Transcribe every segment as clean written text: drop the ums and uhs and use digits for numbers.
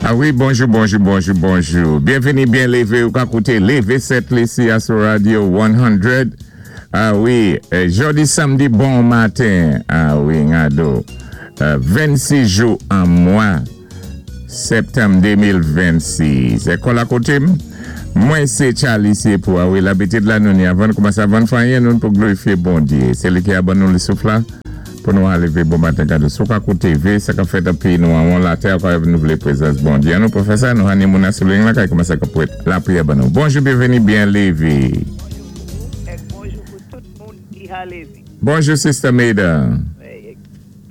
A wi, bonjou, bonjou, bonjou, bonjou. Byenvini, byen lévé, ou ka kouté Lévé Sent Lisi a sou Radio 100. A wi, jòdi samdi bon maten. A wi, ngado. 26 jou an mwa septanm 2026. Èkòl a koté m. Mwen sé Charly Sepou. A wi, labitid la nou ni avan n koumansé avan n fè anyen nou pou glorifyé Bondyé. Sé li ki a ban nou li souf la. Pou nou aleve bon maten gade sou ka koute ve sa kap fèt an peyi nou anwon latè a kwa nou vle prezans Bondye an nou pou fè sa nou hane moun a sou ling lan kay kòmanse kap prèt lapriyè ban nou bonjou byenveni byen leve. Bonjou pou ou ek bonjou pou tout moun ki ha leve. Bonjou sister Meda.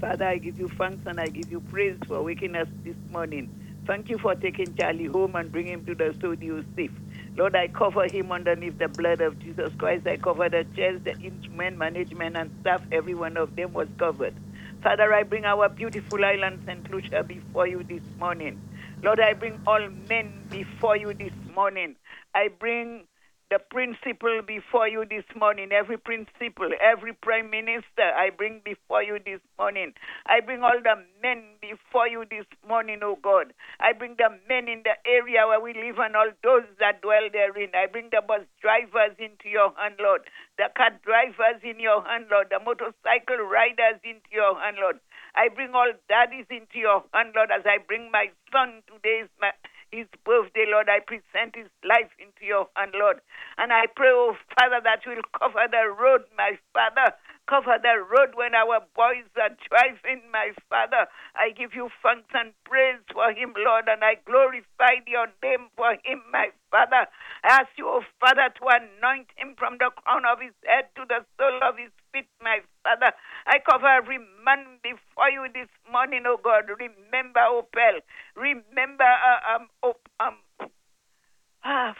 Father I give you thanks and I give you praise for waking us this morning. Thank you for taking Charlie home and bring him to the studio safe. Lord, I cover him underneath the blood of Jesus Christ. I cover the chairs, the instrument, management, and staff. Every one of them was covered. Father, I bring our beautiful island, St. Lucia, before you this morning. Lord, I bring all men before you this morning. I bring the principal before you this morning, every principal, every prime minister I bring before you this morning. I bring all the men before you this morning, O God. I bring the men in the area where we live and all those that dwell therein. I bring the bus drivers into your hand, Lord, the car drivers in your hand, Lord, the motorcycle riders into your hand, Lord. I bring all daddies into your hand, Lord, as I bring my son today is my his birthday, Lord. I present his life into your hand, Lord. And I pray, oh Father, that you will cover the road, my Father. Cover the road when our boys are driving, my Father. I give you thanks and praise for him, Lord, and I glorify your name for him, my Father. I ask you, oh Father, to anoint him from the crown of his head to the sole of his feet, my Father. I cover every man before you this morning, oh God. Remember Opel. Remember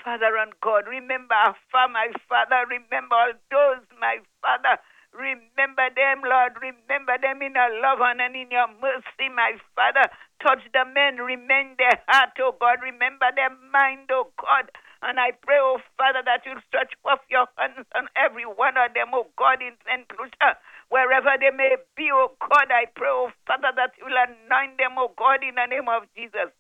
Father and God. Remember Afa, my Father. Remember all those, my Father. Remember them, Lord. Remember them in your love and in your mercy, my Father. Touch the men. Remain their heart, oh God. Remember their mind, oh God. And I pray, oh Father, that you'll stretch forth your hands on every one of them, oh God, in St. Lucia, wherever they may be, oh God. I pray, oh Father, that you'll anoint them, oh God, in the name of Jesus.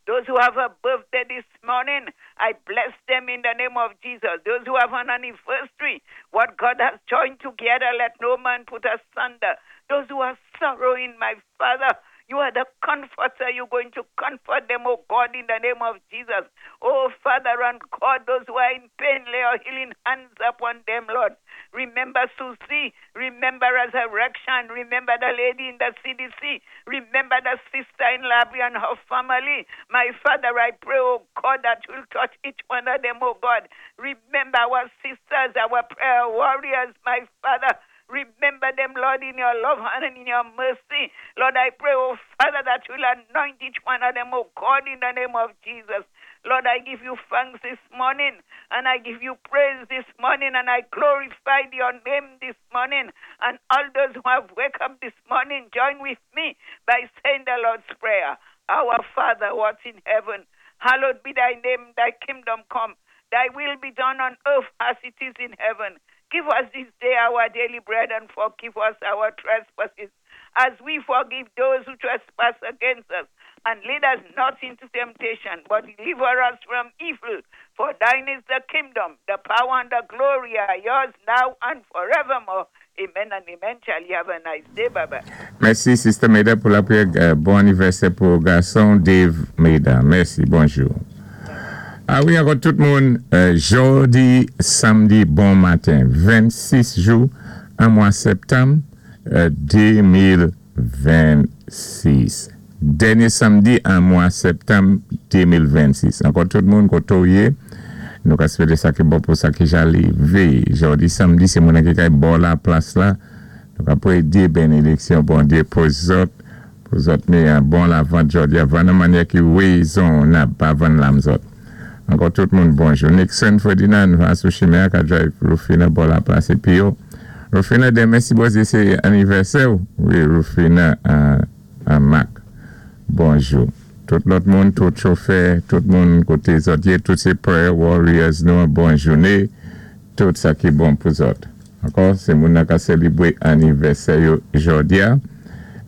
Those who have a birthday this morning, I bless them in the name of Jesus. Those who have an anniversary, what God has joined together, let no man put asunder. Those who are sorrowing, my Father, you are the comforter. You're going to comfort them, oh God, in the name of Jesus. Oh Father and God, those who are in pain, lay your healing hands upon them, Lord. Remember Susie. Remember Resurrection. Remember the lady in the CDC. Remember the sister in Labrie and her family. My Father, I pray, oh God, that you'll touch each one of them, oh God. Remember our sisters, our prayer warriors, my Father. Remember them, Lord, in your love and in your mercy. Lord, I pray, oh Father, that you'll anoint each one of them, oh God, in the name of Jesus. Lord, I give you thanks this morning, and I give you praise this morning, and I glorify your name this morning. And all those who have woke up this morning, join with me by saying the Lord's Prayer. Our Father, who art in heaven, hallowed be thy name, thy kingdom come, thy will be done on earth as it is in heaven. Give us this day our daily bread and forgive us our trespasses as we forgive those who trespass against us. And lead us not into temptation, but deliver us from evil. For thine is the kingdom, the power, and the glory are yours now and forevermore. Amen and amen. Charlie, have a nice day. Bye bye. Mèsi, Sister Meda, pou lapriyè. Bon anivèsè pou gason Dave Meda. Mèsi. Bonjou. A wi, ankò tout moun, jodi samdi bon maten, 26 jou an mwa septanm 2026. Dènye samdi an mwa septanm 2026. Ankò tout moun, kote ou ye, nou ka swete sa ki bon pou sa ki ja live. Jodi samdi, se moun ki kay bò la plas la, nou ka predi benediksyon Bondye pou zòt, pou zòt ni an bon lavant jodi a, vann an manyè ki rezonab, pa vann lam zòt. Ankò tout moun bonjou. Nixon Ferdinand va sou chimen an ka drive Rufina bò la plas epi yo. Rufina demen si Bondye se anivèsè ou wi Rufina an Mak. Bonjou. Tout lòt moun, tout chofè, tout moun koté zòt yé, tout sé prayer warriors nou an bon jouné, tout sa ki bon pou zòt. Ankò, sé moun nan ka sélébwé anivèsè yo jòdi a.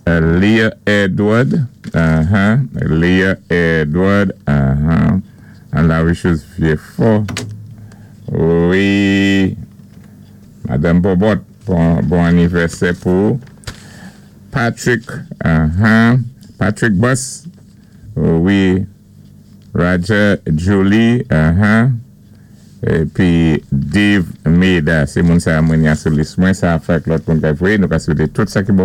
Leah Edward, Leah Edward, an la wishes Vieux-Fort. Wi, Madanm Bobot, bon anivèsè pou Patrick, Patrick Buss, wi, Roger Julie, épi Dave Meda, sé moun sa mwen ya sou lis mwen, sa fèk lòt moun ka vwé, nou ka swété tout sa ki bon.